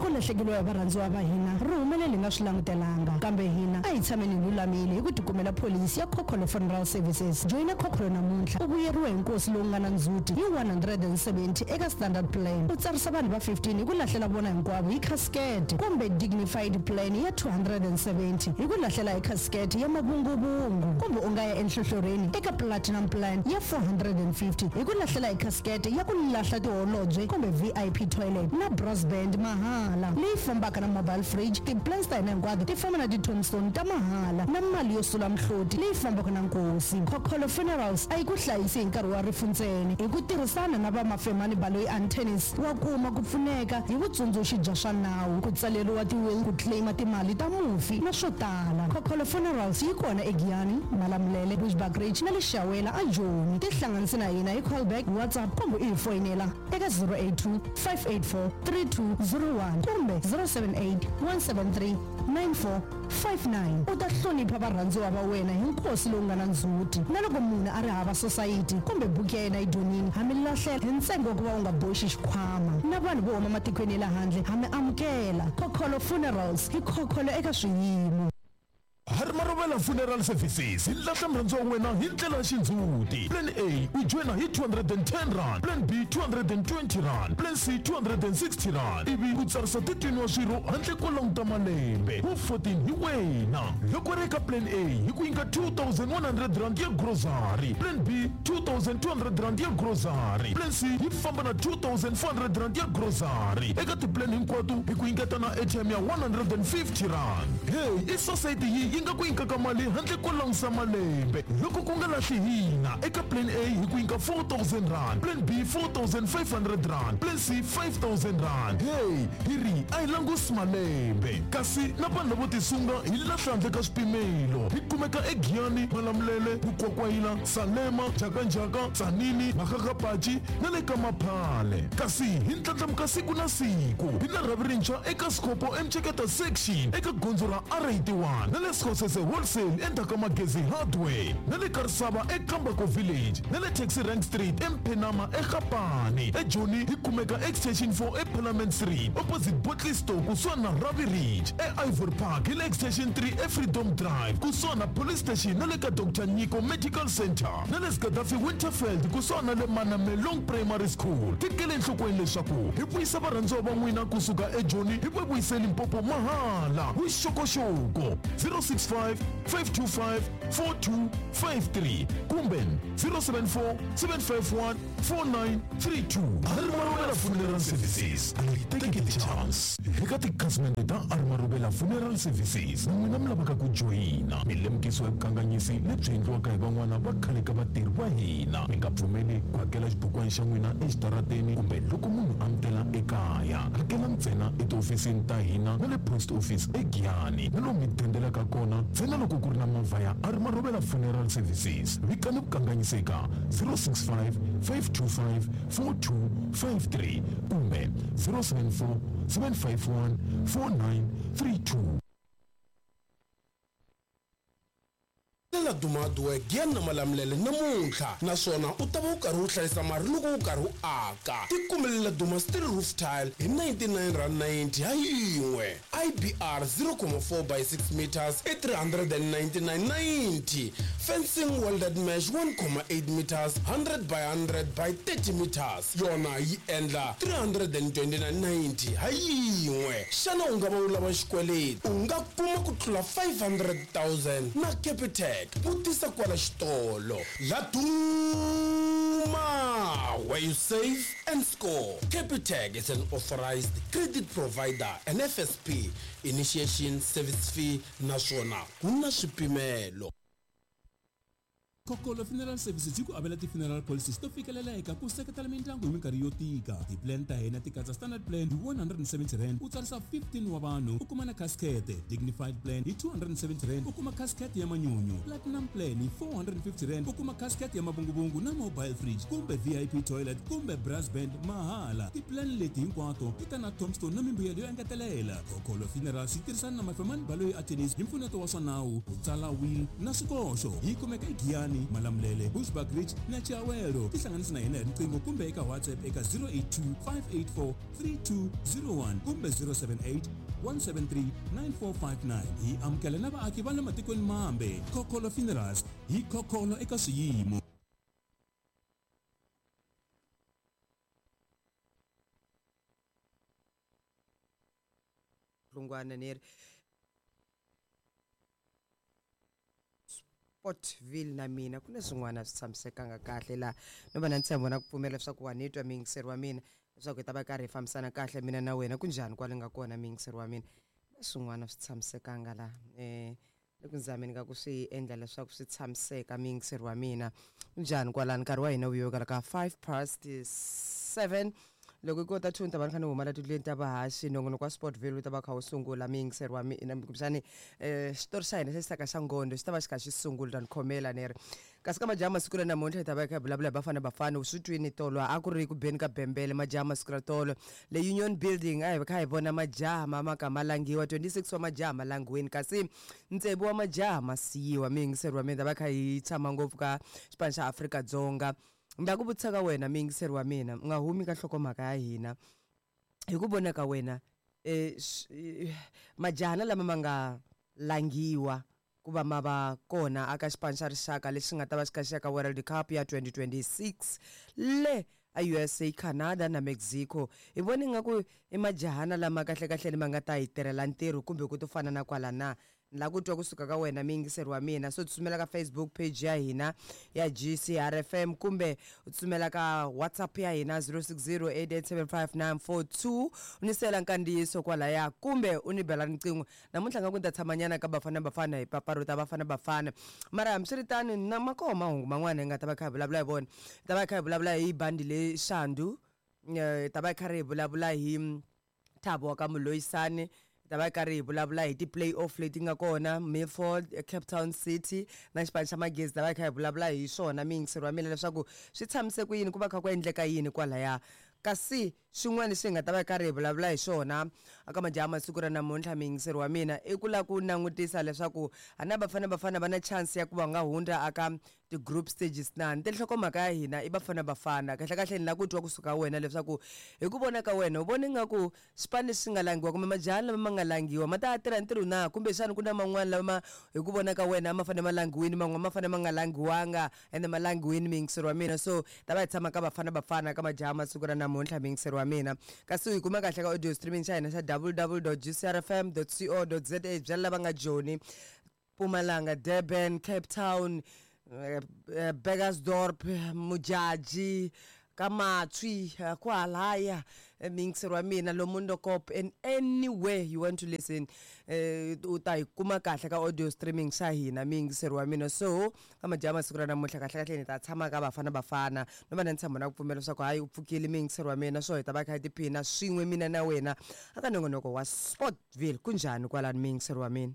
Ra ku lahlekeriwa hi varhandziwa va hina ri humelele hi nga swi langutelanga. Kambe hina a hi tshameni hi lulamile hi ku tikumela pholisi ya Khokholo Funeral Services. Joyina Khokholo namuntlha u vuyeriwe hi nkosi lowu nga na ndzhuti hi 170 eka Standard Plan, u tsarisa vanhu va 15 hi ku lahlela vona hinkwavo hi khasikete, kumbe Dignified Plan ya 270 hi ku lahlela hi khasikete ya mavunguvungu, kumbe u nga ya enhlohlorhini eka Platinum Plan ya 450 hi ku lahlela hi khasikete ya ku lahla tiholobye kumbe VIP toilet na brass band mahala leyi fambaka na mobile fridge. Ti-plans ta hina hinkwato ti famba na ti-tombstone ta mahala na mali yo sula mihloti leyi fambaka na nkosi. Khokholo Funerals a yi ku hlayisi hi nkarhi wa rifu ntsena. Hi ku tirhisana na va Mafemani Baloyi Attorneys, wa kuma ku pfuneka hi vutsundzuxi bya swa nawu, ku tsaleriwa ti-will, ku claim-a timali ta mufi na swo tala. Khokholo Funerals yi kona eGiyani, Malamulele, Bushbuckridge na le Shawela aJoni. Tihlanganisi na hina hi callback, WhatsApp kumbe u hi foyinela eka 082 584 3201 kumbe 078 173 9459. U ta hlonipha varhandziwa va wena hi nkosi lowu nga na ndzhuti. Na loko munhu a ri hava sosayiti kumbe buku ya yena yi dyonile, ha mi lahlela hi ntsengo wa ku va u nga boxi xikhwama. Na vanhu vo huma matikweni ya le handle ha mi amukela. Khokholo Funerals, hi khokholo eka swiyimo. Harimarovela Funeral Services yi lahla murhandziwa wa wena hi ndlela ya xindzhuti. Plan A u joyina hi R210, Plan B R220, Plan C R260 ivi u tsarisa 13 wa swirho handle ko languta malembe. Wu 14 hi wena. Loko ri eka Plan A hi ku nyika R2100 ya grocery, Plan B R2200 ya grocery, Plan C yi famba na R2400 ya grocery. Eka ti-plan hinkwato hi ku nyiketa na airtime ya R150. Hey, i sosayiti yi yi nga ku nyikaka mali handle ko langusa malembe. Loko ku nga lahli hina, eka Plan A hi ku nyika R4000, Plan B R4500, Plan C R5000. Hey, hi ri a hi langusi malembe. Kasi na vanhu lavo tisunga hi lahla handle ka swipimelo. Hi kumeka eGiyani, Malamulele, Mukwakwayila, Salema, Njhakanjhaka, Tzaneen, Makgakgapachi na le ka Maphale. Kasi hi ndlandlamuka siku na siku. Hi na rhavi rintshwa eka Skhopho eMceketa Section eka gondzo ra R81 na le Skhosese Wholesale endzhaku ka Magezi Hardware na le Karisava eKambako Village na le Taxi Rank Street eMphenama eGapane. EJoni hi kumeka Extension 4 eParliament Street opposite Bottle Store kusuhani na Ravi Ridge. E-Ivory Park hi le Extension 3 eFreedom Drive kusuhani na Police Station na le ka Doctor Nyiko Medical Centre na le Gaddafi Winterveld kusuhani na le Manamelong Primary School. Tekela enhlokweni leswaku hi vuyisa varhandziwa va n'wina kusuka eJoni hi va vuyise Limpopo mahala. Vuxokoxoko 065 525 4253 kumbe 074 751 4932. Arimarubela Funeral Services, a yi teki ti-chance. Eka tikhasimende ta Arimarubela Funeral Services, na n'wina mi lavaka ku joyina, mi lemukisiwa hi vukanganyisi lebyi endliwaka hi van'wana va khale ka vatirhi va hina. Mi nga pfumeli ku hakela xibukwana xa n'wina exitarateni kumbe loko munhu a mi tela ekaya. Hakela ntsena etihofisini ta hina na le post office eGiyani na lomu mi dendelaka kona ntsena loko ku ri na movha ya Arimarubela Funeral Services. Vikani vukanganyisi eka 065 525 4253 kumbe 074 751 4932. Lela Duma Hardware Giyani na Malamulele namuntlha naswona u ta va u karhi u hlayisa mali loko u karhi u aka. Tikumelela Duma Steel Roof Tile hi R99.90 ha yin'we. IBR 0.4 by 6 meters i R399.90. Fencing welded mesh 1.8 meters 100 by 100 by 30 meters yona yi endla R329.90 ha yin'we. Xana u nga va u lava xikweleti? U nga kuma ku tlula 500,000 na Capitec. Vutisa kwala xitolo. Laduma, where you save and score. Capitec is an authorized credit provider and FSP. Initiation service fee naswona ku na swipimelo. Kokolo Funeral Services yi ku avela ti-funeral policies to fikeleleka ku seketela mindyangu hi minkarhi yo tika. Ti-plan ta hina ti katsa standard plan hi R170 u tsarisa 15 wa vanhu u kuma na casket, dignified plan hi R270 u kuma casket ya manyunyu, platinum plan hi R450 u kuma casket ya mavunguvungu na mobile fridge kumbe VIP toilet kumbe brass band mahala. Ti-plan leti hinkwato ti ta na tombstone na mimbuyelo yo engetelela. Kokolo Funerals yi tirhisana na Mafemani Baloyi Attorneys hi mpfuneto wa swa nawu ku tsala will na swikoxo. Yi kumeka eGiyani. Polokwane, Malamulele, Bushbuckridge na Chiawelo. Tihlanganisi na hina hi riqingho kumbe eka WhatsApp eka 082 584 3201 kumbe 078 173 9459. Hi amukela na vaaki va le matikweni mambe. Khokholo Funerals, hi khokholo eka swiyimo. Hlungwana ni ri Sportville na mina ku na swin'wana swi tshamisekanga kahle laha no va na ntshembo na ku pfumela leswaku wa ni twa muyingiseri wa mina, leswaku hi ta va karhi hi fambisana kahle mina na wena. Ku njhani kwale nga kona muyingiseri wa mina? Na swin'wana swi tshamisekanga laha le ku zameni ka ku swi endla leswaku swi tshamiseka muyingiseri wa mina. Ku njhani kwalani? Nkarhi wa hina wu yokala ka 5 past 7. Loko i kota 2 ni ta va ni kha ni huma la tindlwini ta vahaxi. Nongonoko wa Sportville wu ta va kha wu sungula muyingiseri wa mina, kumbexani xitori xa hina xa xisaka xa ngondo xi ta va xi kha xi sungula, ta ni khomela ni ri. Kasi ka majaha masiku ra namuntlha hi ta va hi kha hi vulavula hi Bafana Bafana. U swi twini tolo a ku ri ku beni ka bembele majaha masiku ra tolo le Union Building. A hi kha hi vona majaha ma ma ka ma langiwa, 26 wa majaha ma langiweni kasi ntsevu wa majaha ma siyiwa. Muyingiseri wa mina, ta va kha hi tshama ngopfu ka xipano xa Afrika-Dzonga. Ni ta ku vutisa ka wena muyingiseri wa mina, u nga humi ka nhlokomhaka ya hina. Hi ku vona ka wena, majahana lama ma nga langiwa ku va ma va kona aka xipano xa rixaka lexi nga ta va xi kha xi ya ka World Cup ya 2026 le a USA, Canada na Mexico, hi vona ingaku i majahana lama kahlekahle ma nga ta hi tirhela ntirho kumbe ku to fana na kwala na? Ni lava ku twa kusuka ka wena muyingiseri wa mina. So tsutsumela ka Facebook page ya hina ya GCRFM kumbe u tsutsumela ka WhatsApp ya hina 0608875942, u ni siyela nkandziyiso kwalaya kumbe u ni bela riqingho. Namuntlha nga ku ni ta tshamanyana ka Bafana Bafana, hi pfapfarhuta Bafana Bafana, mara hambiswiritano na ma koho mahungu man'wana hi nga ta va kha hi vulavula hi vona. Hi ta va hi kha hi vulavula hi bandi le Shandu, hi ta va hi karhi hi vulavula hi Thabo wa ka Moloisane, hi ta va hi karhi hi vulavula hi ti-play off leti nga kona Milford, Cape Town City na xipano xa Magezi. Ta va hi kha hi vulavula hi swona muyingiseri wa mina, leswaku swi tshamise ku yini, ku va kha ku endleka yini kwalaya. Kasi xin'wana lexi hi nga ta va hi karhi hi vulavula hi xona aka majaha masiku ra namuntlha muyingiseri wa mina, i ku lava ku langutisa leswaku a na Bafana Bafana va na chance ya ku va nga hundza aka ti-group stages na. Ni nhlokomhaka ya hina i Bafana Bafana. Kahle kahle ni lava ku twa kusuka wena leswaku hi ku vona ka wena u vona ingaku xipano lexi nga langiwa kumbe majaha lama ma nga langiwa ma ta tirha ntirho na, kumbexana ku na man'wana lama hi ku vona ka wena a ma fanele ma langiwini, man'wana ma fanele ma nga langiwanga ende ma langiwini muyingiseri wa mina. So ta va hi tshama ka Bafana Bafana ka majaha masiku ra namuntlha muyingiseri wa mina. Kasi u yi kuma kahle ka audio streaming xa hina xa www gcrfm co za. Byela lava nga Joni, Mpumalanga, Durban, Cape Town, Burgersdorp, Mujaji, ka Matswi, kwalaya muyingiseri wa mina, Lomondokop and anywhere you want to listen, u ta yi kuma kahle ka audio streaming xa hina muyingiseri wa mina. So ka majaha masiku ra namuntlha kahle kahle ni ta tshama ka Bafana Bafana, no va na ntshembo na ku pfumela leswaku hayi u pfukile muyingiseri wa mina. So hi ta va kha hi tiphina swin'we mina na wena aka nongonoko wa Sportville. Ku njhani kwalani muyingiseri wa mina?